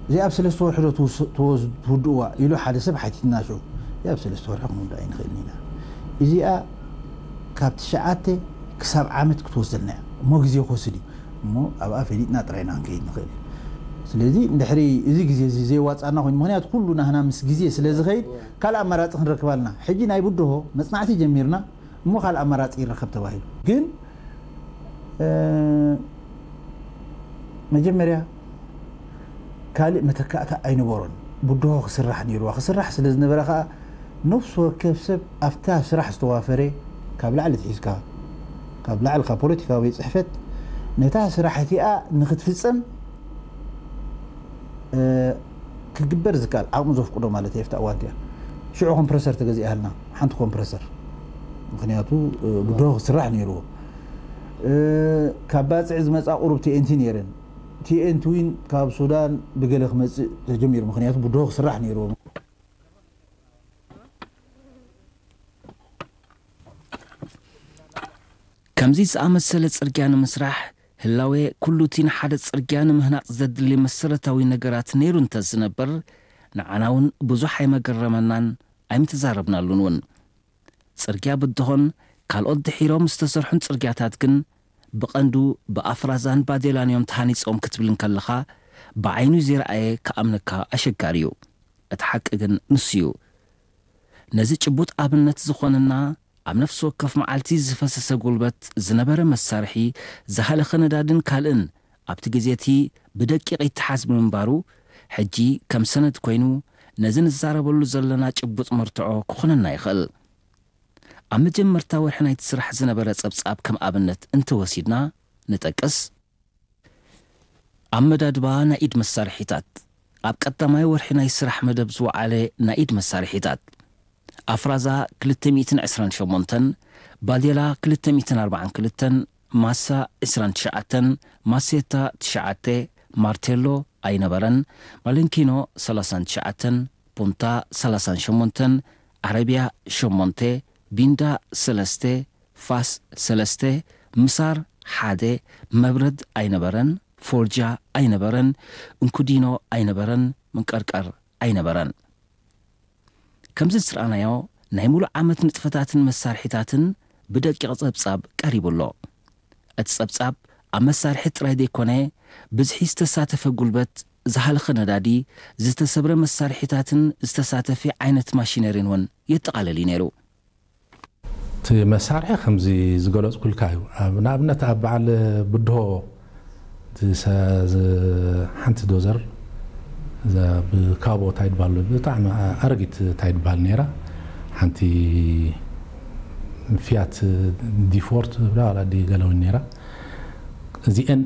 እዚኣ ኣብ ሰለስተ ወርሒ ዶ ትውስ- ትወዝ- ትውድእዋ ኢሉ ሓደ ሰብ ሓቲትና ሽዑ። እዚኣ ኣብ ሰለስተ ወርሒ ክንውድኣ ኣይንኽእልን ኢና። እዚኣ ካብ ትሽዓተ ክሳብ ዓመት ክትወስደልና እያ። እሞ ግዜ ክወስድ እዩ። እሞ ኣብኣ ፈሊጥና ጥራይ ኢና ክንከይድ ንኽእል። ስለዚ እንድሕሪ እዚ ግዜ እዚ ዘይዋፃና ኮይኑ፣ ምኽንያቱ ኩሉ ናህና ምስ ግዜ ስለ ዝኸይድ ካልእ ኣማራፂ ክንረክብ ኣለና። ሕጂ ናይ ብድሆ መፅናዕቲ ጀሚርና እሞ ካልእ ኣማራፂ ይረከብ ተባሂሉ ግን መጀመርያ ካልእ መተካእታ ኣይነበሮን። ብድሆ ክስራሕ ነይርዋ። ክስራሕ ስለ ዝነበረ ከዓ ነፍሲ ወከፍ ሰብ ኣብታ ስራሕ ዝተዋፈረ ካብ ላዕሊ ትሒዝካ ካብ ላዕሊ ካብ ፖለቲካዊ ቤት ፅሕፈት ነታ ስራሕ እቲኣ ንክትፍፀም ክግበር ዝከኣል ዓቕሚ ዘፍቅዶ ማለት እየ። ኣብታ እዋን እቲኣ ሽዑ ኮምፕረሰር ተገዚኣልና ሓንቲ ኮምፕረሰር ምክንያቱ ብድሆ ክስራሕ ነይርዎ። ካብ ባፅዕ ዝመፃ ቁሩብ ቲኤንቲ ነይረን። ቲኤንቲ ዊን ካብ ሱዳን ብገለ ክመፅእ ተጀሚሩ ምክንያቱ ብድሆ ክስራሕ ነይርዎ። ከምዚ ዝኣመሰለ ጽርግያ ንምስራሕ ህላዌ ኩሉ እቲ ንሓደ ጽርግያ ንምህናጽ ዘድሊ መሰረታዊ ነገራት ነይሩ እንተ ዝነበር ንዓና እውን ብዙሕ ኣይመገረመናን ኣይምተዛረብናሉን እውን። ጽርግያ ብድሆን ካልኦት ድሒሮም ዝተሰርሑን ጽርግያታት ግን ብቐንዱ ብኣፍራዛን ባዴላን እዮም ተሃኒጾም ክትብል እንከለኻ ብዓይኑ ዘይረኣየ ክኣምነካ ኣሸጋሪ እዩ። እቲ ሓቂ ግን ንሱ እዩ። ነዚ ጭቡጥ ኣብነት ዝኾነና ኣብ ነፍሲ ወከፍ መዓልቲ ዝፈሰሰ ጉልበት ዝነበረ መሳርሒ ዝሃለኸ ነዳድን ካልእን ኣብቲ ግዜ እቲ ብደቂቕ ይተሓዝ ብምንባሩ ሕጂ ከም ሰነድ ኮይኑ ነዚ ንዛረበሉ ዘለና ጭቡጥ መርትዖ ክኾነና ይኽእል። ኣብ መጀመርታ ወርሒ ናይቲ ስራሕ ዝነበረ ጸብጻብ ከም ኣብነት እንተወሲድና ንጠቅስ። ኣመዳድባ ናይ ኢድ መሳርሒታት። ኣብ ቀዳማይ ወርሒ ናይ ስራሕ መደብ ዝወዓለ ናይ ኢድ መሳርሒታት። ኣፍራዛ ክልተ ሚእትን ዕስራን ሸሞንተን፣ ባዴላ ክልተ ሚእትን ኣርባዓን ክልተን፣ ማሳ ዕስራን ትሽዓተን፣ ማሴታ ትሽዓተ፣ ማርቴሎ ኣይነበረን፣ ማለንኪኖ ሰላሳን ትሽዓተን፣ ፑንታ ሰላሳን ሸሞንተን፣ ዓረብያ ሸሞንተ፣ ቢንዳ ሰለስተ፣ ፋስ ሰለስተ፣ ምሳር ሓደ፣ መብረድ ኣይነበረን፣ ፎርጃ ኣይነበረን፣ እንኩዲኖ ኣይነበረን፣ ምንቀርቀር ኣይነበረን። ከምዚ ዝረኣናዮ ናይ ሙሉእ ዓመት ንጥፈታትን መሳርሒታትን ብደቂቕ ጸብጻብ ቀሪቡ ኣሎ። እቲ ጸብጻብ ኣብ መሳርሒ ጥራይ ዘይኮነ ብዝሒ ዝተሳተፈ ጉልበት፣ ዝሃለኸ ነዳዲ፣ ዝተሰብረ መሳርሒታትን ዝተሳተፈ ዓይነት ማሽነሪን እውን የጠቓልል እዩ ነይሩ። እቲ መሳርሒ ከምዚ ዝገለፅኩልካ እዩ። ንኣብነት ኣብ በዓል ብድሆ ሓንቲ ዶዘር ብካቦ ታይ ድባል ብጣዕሚ ኣረጊት ታይ ድባል ነይራ ሓንቲ ፊያት ዲፎርት ዲ ገለውን ነይራ እዚአን